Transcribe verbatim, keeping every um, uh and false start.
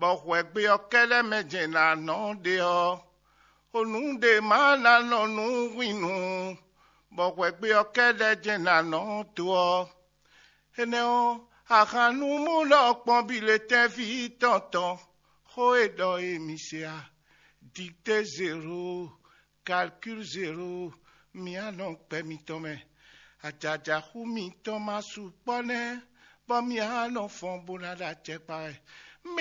bɔ hwɛgbe ɔ́ kɛ́ɖɛ́ mɛ jɛ́n ná nɔ ɖe ɔ́, o nǔ ɖé ma ná nɔ nú hwinnu, bɔ hwɛgbe ɔ́ kɛ́ɖɛ́ jɛ́n ná nɔ dó ɔ́. Énɛ́ ɔ́, ahan nú mú ɖɔ kpɔ́n bi le tɛ́nví tɔn tɔn, xó e ɖɔ e mi se a, dictée zéro, calcul zéro, mi á nɔ gbɛ mitɔn mɛ. Ajaja xú mitɔn ma sukpɔ́ nɛ́, bɔ mi á nɔ fɔn bó ná ɖo acɛkpa wɛ. Mi